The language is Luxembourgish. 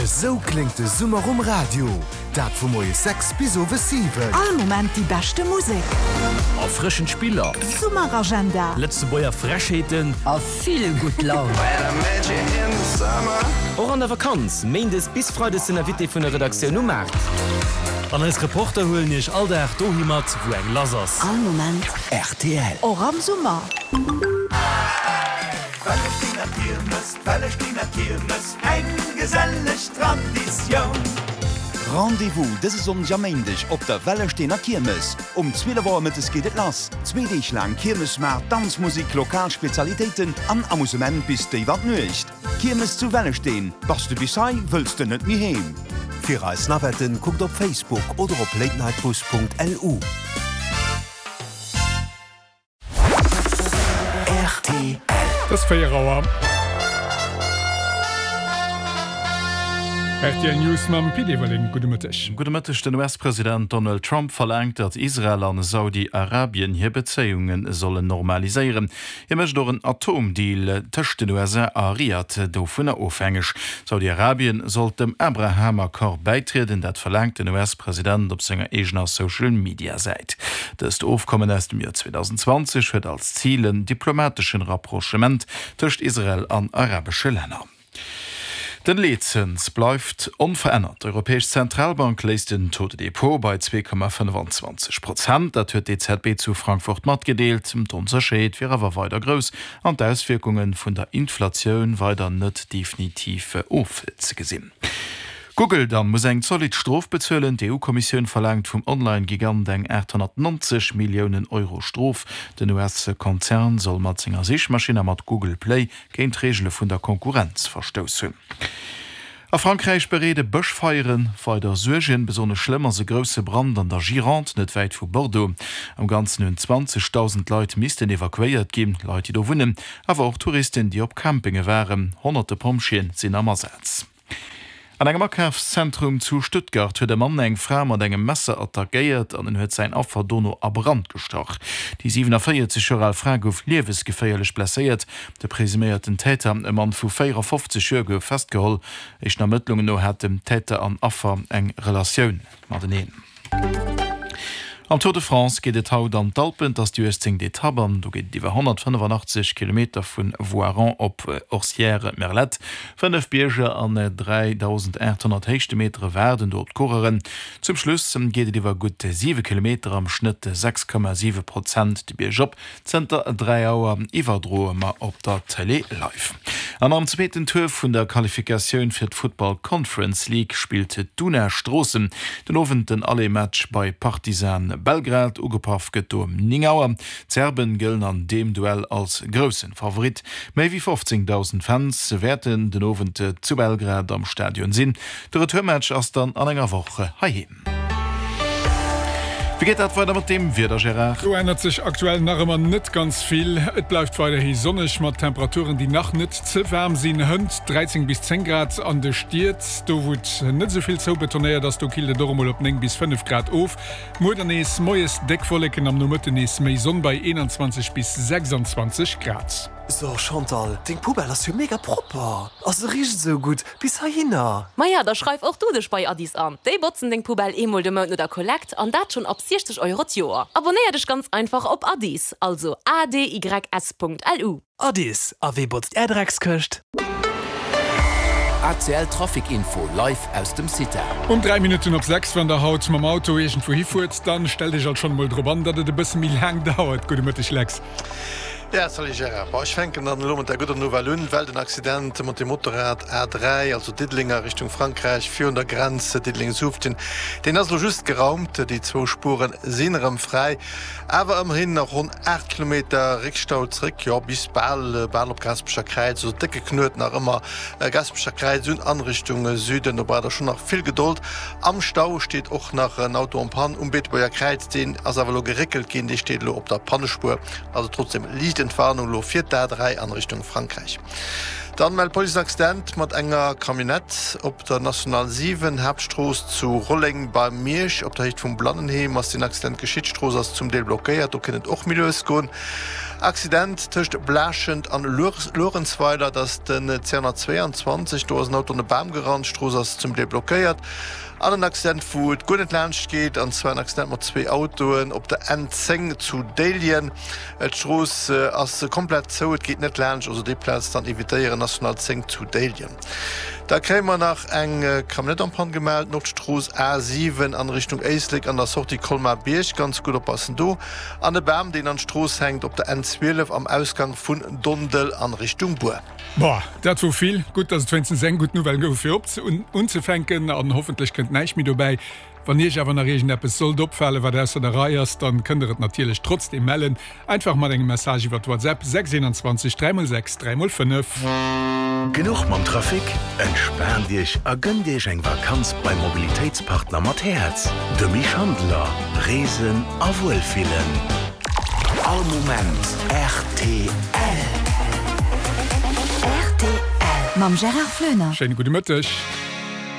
Esou kléngt de Summer um Radio, dat vu moies 6 bis owes 7. All Moment déi beschte Musek. Erfrëschend Spiller. Summeragenda. Lëtzebuerger Frechheeten. A vill gutt Laun. Och an der Vakanz, Méindes bis Freides den Invité vun der Redaktioun um Maart. An eis Reporter huelen iech all Dag dohi mat, wou eng lass ass. All Moment rtl. Och am Summer. D'Wellestener Kiermes, eng geselleg Traditioun. Rendez-vous dëse Sonndeg a Méindeg op der Wellesteener Kiermes. Um 12 Auer mëttes geet et lass. Zwee Deeg laang Kiermesmaart, Danzmusik, lokal Spezialitéiten an Amusement bis déif an d'Nuecht. Kiermes zu Wellesteen, Bass de bis hei, wëlls de net méi heem. Fir eis Navetten kuckt op Facebook oder op latenightbus.lu. Et ass 4 Auer. Rtl News mam Pit Everling. Gudde Mëtteg. Gudde Mëtteg. Den US-President Donald Trump verlaangt, datt Israel an Saudi-Arabien hir Bezéiunge sollen normaliséieren. Hie mécht och en Atomdeal tëscht den USA a Riad dovunner ofhängeg. Saudi-Arabien sollt dem Abraham-Accord bäitrieden, dat verlaangt den US-President op senger eegener Social-Media-Säit. Dëst Ofkommen aus dem Joer 2020 huet als Zil en diplomateschen Rapprochement tëscht Israel an arabesche Länner. Den Leetzëns bleift onverännert. D'Europäesch Zentralbank léisst den Taux de dépôt bei 2,25 Prozent. Dat huet d'EZB zu Frankfurt matgedeelt. D'Onsécherheet wier awer weider grouss an d'Auswierkunge vun der Inflatioun weider net definitiv ofzegesinn. Google dann muss eng zolidd Strof bezuelen. D'EU-Kommissioun verlaangt vum Online-Gigant eng 890 Milliounen Euro Strof. Den US-Konzern soll mat senger Sichmaschinn a mat Google Play géint d'Reegele vun der Konkurrenz verstouss hunn. A Frankräich bereede Bëschfeiere weider Suergen. Besonnesch schlëmm ass e grousse Brand an der Gironde, net wäit vu Bordeaux. Am Ganzen hunn 20.000 Leit missten evakuéiert ginn, Leit, déi do wunnen, awer och Touristen, déi op Campinge waren. Honnerte Pompjeeë sinn am Asaz. An engem Akafszentrum zu Stuttgart huet e Mann eng Fra mat engem Messer attackéiert an en huet säin Affer dono a Brand gestach. Déi 47 Joer al Fra gouf liewesgeféierlech blesséiert. De presuméierten Täter, e Mann vu 54 Joer, gouf festgeholl. Éischten Ermëttlungen no haten Täter an Affer eng Relatioun mateneen. Am Tour de France geet et haut an d'Alpen. Et ass déi 18. Etapp an do geet et iwwer 185 Kilometer vu Voiron op Orcières-Merlette. Fënnef Bierger an 3.800 Héichtemetere waarden do op d'Coureuren. Zum Schluss geet et iwwer gutt 7 Kilometer, am Schnëtt 6,7 Prozent de Bierg op. Zënter 3 Auer iwwerdroe mer op der Tëlee live. An am zweeten Tour vun der Qualifikatioun fir d'Football Conference League spillt d'Una Stroossen den Owend den Aller-Match bei Partizan Belgrad. Ugepaff gëtt do ëm 9 Auer. D'Serben gëllen an deem Duell als groussen Favorit. Méi wéi 15.000 Fans wäerten den Owend zu Belgrad am Stadion sinn. De Retourmatch ass dann an enger Woch heiheem. Wéi geet dat weider mat deem Wieder, Gérard? Do ännert sech aktuell nach ëmmer net ganz vill. Et bleift weiderhi sonneg mat Temperaturen, déi nach net ze waarm sinn, hënt 13 bis 10 Grad an de Stied. Do wou et net esou vill zoubetonéiert ass, do killt et och emol op 9 bis 5 Grad of. Muer dann nees moies déck Wolleken, am Nomëtten nees méi Sonn bei 21 bis 26 Grad. So Chantal, deng Poubelle ass jo mega propper a se richt esou gutt bis heihinner. Maja, da schreif och du dech bei Addis an. Déi botzen deng Poubelle eemol de Mount no der Kollekt an dat schonn ab 60 Euro d'Joer. Abonnéier dech ganz einfach op Addis, also adys.lu. Addis, a wee botzt är Dreckskëscht? ACL Trafic Info live aus dem CITA. Um 3 Minutten op 6, Wann der haut mam Auto iergendwou hifuert, dann stellt iech alt schonn emol drop an, datt et e bësse méi laang dauert. Gudde Mëtteg Lex. Ja, salut Gérard. Bon, ech fänken dann elo mat der gudder Nouvelle un, well den Accident mat dem Motorrad A3, also Diddeleng a Richtung Frankräich, virun der Grenz Diddeleng-Suuftgen, deen ass elo just geraumt. Déi zwou Spuere sinn erëm fräi, awer ëmmerhin nach ronn 8 Kilometer Réckstau zréck, jo bis bal bal op Gaasperecher Kräiz, also décke Knuet nach ëmmer Gaasperecher Kräiz un an Richtung Süden. Do braucht der schonn nach vill Gedold. Am Stau steet och nach en Auto en panne um Beetebuerger Kräiz, deen ass awer elo geréckelt ginn, dee steet elo op der Pannespuer. Also trotzdem liicht Entwarnung elo fir d'A3 an Richtung Frankräich. Dann mellt d'Police en Accident mat enger Camionnette op der National 7, Haaptstrooss zu Rolleng bei Miersch. Op der Héicht vum Blannenheem ass deen Accident geschitt. D'Strooss ass zum Deel blockéiert, do kéint et och méi lues goen. Accident tëscht Blaaschent an Luerenzweiler, dat ass den 222, do ass en Auto an e Bam gerannt, d'Strooss ass zum Deel blockéiert. An en Accident wou et guer net laanscht geet, an zwar en Accident mat zwee Autoen op der N10 zu Déiljen. D'Strooss ass komplett zou, et geet net laanscht, also déi Plaz dann evitéieren, National 10 zu Déiljen. Da kréie mer nach eng Camionnette en panne gemellt, Nordstrooss A7 an Richtung Éislek an der Sortie Colmar-Bierg, ganz gutt oppassen do. An e Bam deen an d'Strooss hänkt op der N12 am Ausgang vun Dondel an Richtung Buer. Boah, dat wor vill. Gutt, dass et wéinstens eng gutt Nouvelle gouf fir op unzefänken an hoffentlech kënnt näischt méi dobäi. Wann Iech awer nach iergendeppes sollt opfalen, wat ausser der Rei ass, dann kënnt der et natierlech trotzdeem mellen. Einfach mat engem Message iwwert WhatsApp 6 21 3 x 6 3 x 5. Genuch mam Trafic? Entspaant Iech a gënnt Iech eng Vakanz beim Mobilitéitspartner mat Häerz, de Mich Handeler. Reesen a Wuelfillen. All Moment rtl. Rtl mam Gérard Floener. Schéine gudde Mëtteg.